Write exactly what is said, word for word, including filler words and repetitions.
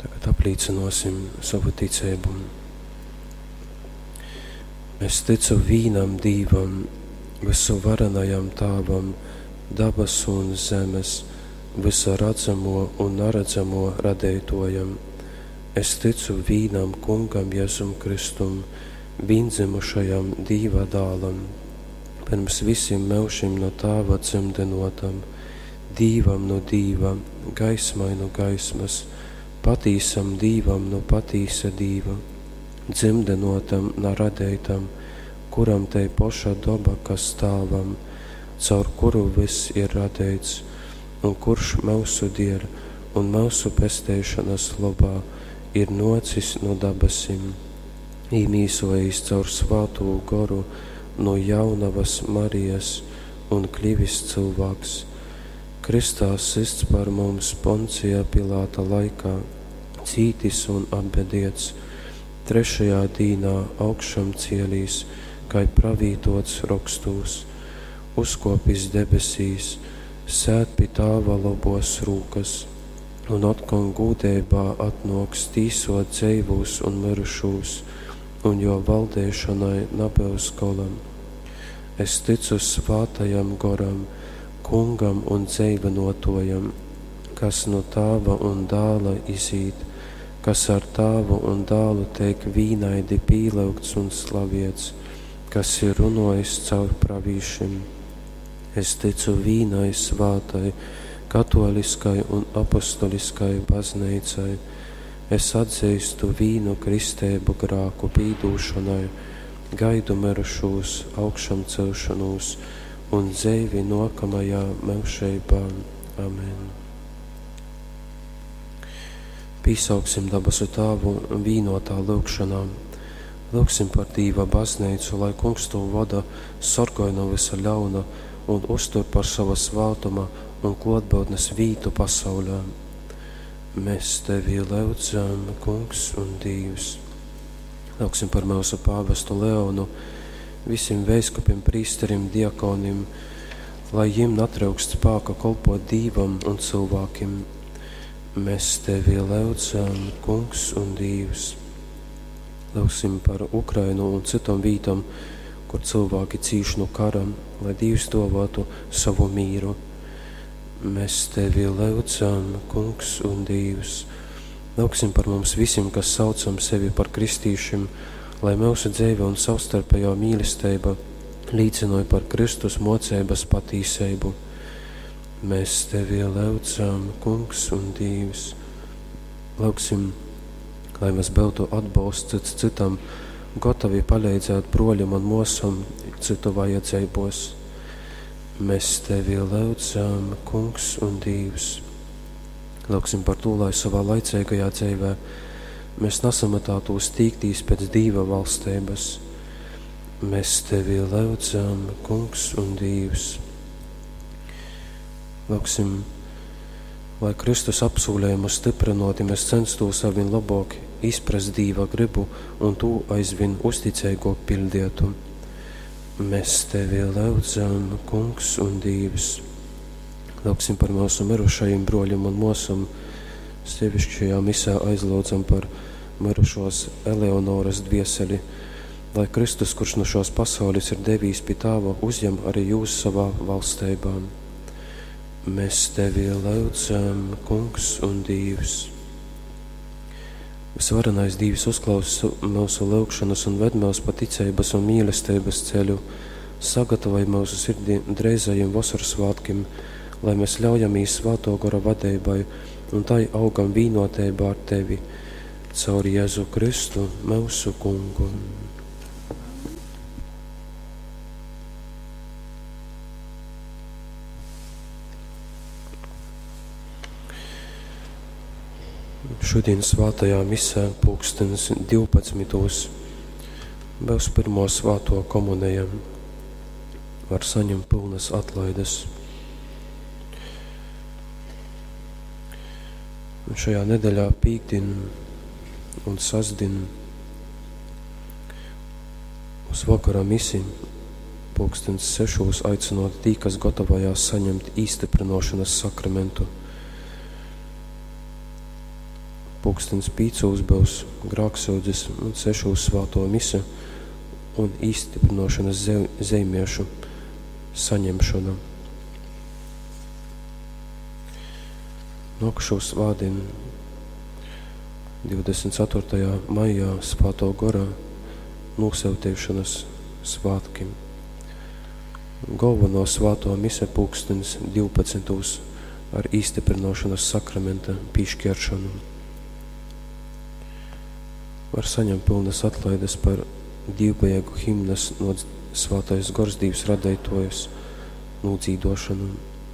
Tagad aplīcynuosim sovu ticeibu. Es tycu vīnam Dīvam, vysuvarenajam Tāvam, dabasu un zemes, vysa radzamuo un naradzamuo Radeituojam. Es tycu vīnam Kungam Jezum Kristum, vīndzymušajam Dīva Dālam, pyrms vysim myužim nu Tāva dzymdynuotam, Dīvam nu Dīva, gaismai nu gaismys, patīsam Dīvam nu patīsa Dīva, dzymdynuotam, na radeitam, kuram tei poša doba, kas Tāvam, caur kuru vyss ir radeits, un kurš myusu dieļ un myusu pesteišonys lobā ir nuocis nu dabasim, īmīsuojīs caur Svātū Goru nu Jaunavas Marijas un klivis cylvāks, krystā systs par mums Poncija Pilata laikā, cītis un apbediets, trešajā dīnā augšamcielīs, kai pravītuots Rokstūs, uzkuopis debesīs, sēd pi Tāva lobuos rūkys un otkon gūdeibā atnuoks tīsuot dzeivūs un myrušūs, un juo valdeišonai nabyus gola. Es tycu Svātajam Goram, Kungam un dzeivynuotuojam, kas nu Tāva un Dāla izīt, kas ar Tāvu un Dālu teik vīnaidi pīlyugts un slaviets, kas ir runuojis caur pravīšim. Es tycu vīnai svātai, katuoliskai un apostoliskai Bazneicai. Es atzeistu vīnu kristeibu grāku pīdūšonai, gaidu myrušūs augšamceļšonūs un dzeivi nuokamajā myužeibā. Amen. Pīsauksim dabasu Tāvu vīnuotā lyugšonā. Lyugsim par Dīva Bazneicu, lai Kungs tū voda, sorgoj nu vysa ļauna un uztur par sova svātuma un kluotbyutnes vītu pasauļā. Mēs Tevi lyudzam, Kungs un Dīvs. Lyugsim par myusu pāvestu Leonu, vysim veiskupim, prīsterim, diakonim, lai jim natryukst spāka kolpot Dīvam un cylvākim. Mēs Tevi lyudzam, Kungs un Dīvs. Lyugsim par Ukrainu un cytom vītom, kur cylvāki cīš nu kara, lai Dīvs duovuotu sovu mīru. Mēs Tevi lyudzam, Kungs un Dīvs. Lyugsim par mums vysim, kas saucam sevi par kristīšim, lai myusu dzeive un savstarpejuo mīlesteiba līcynoj par Kristus muoceibys patīseibu. Mēs Tevi lyudzam, Kungs un Dīvs. Lyugsim, lai mēs byutu atbolsts cyts cytam, gotovi paleidzēt bruoļam un muosom cytu vajadzeibuos. Mēs Tevi lyudzam, Kungs un Dīvs. Lyugsim par tū, lai sovā laiceigajā dzeivē mēs nasamatātūs tīktīs pēc Dīva valsteibys. Mēs Tevi lyudzam, Kungs un Dīvs. Lyugsim, lai Kristus apsūlejumu styprynuoti mēs censtūs arvīn lobuok izprast Dīva grybu un tū aizvīn uzticeiguok piļdietu. Mēs Tevi lyudzam, Kungs un Dīvs. Lyugsim par myusu myrušajim bruoļim un muosom, seviški šajā misē aizlyudzam par myrušuos Eleonoras dvieseli, lai Kristus, kurš nu šuos pasaulis ir devīs pi Tāva, uzjem arī jūs sovā valsteibā. Mēs Tevi lyudzam, Kungs un Dīvs. Visvarenais Dīvs uzklausa myusu lyugšonys un ved myus pa ticeibys un mīlesteibys ceļu, sagatavoj myusu sirdi dreizajim Vosorsvātkim, lai mēs ļaujamīs Svātuo Gora vadeibai un tai augam vīnuoteibā ar Tevi, caur Jezu Kristu, myusu Kungu. Šodien svātajā misē pulkstens divpadsmitūs būs pirmo svāto komuneja. Var saņemt pilnas atlaides. Un šajā nedēļā pīkdien un sastdien uz vakara misi pulkstens sešos aicinot tī, kas gatavojās saņemt īstiprinošanas sakramentu. Pūkstens pīcūs byus grāksyudzes un sešūs svātō mise un īstiprinošanas zeimiešu saņemšona. Nōkušū svātdien, divdesmit ceturtajā maijā, Svātō Gora nūsyutīšanas svātki. Galveno svātō mise pūkstens divpadsmitūs ar īstiprinošanas sakramenta pīšķieršanu. Var saņemt pilnas atlaides par dīvbejīgu himnas no Svātais Gors Dīvs radeitojus nūdzīdošanu.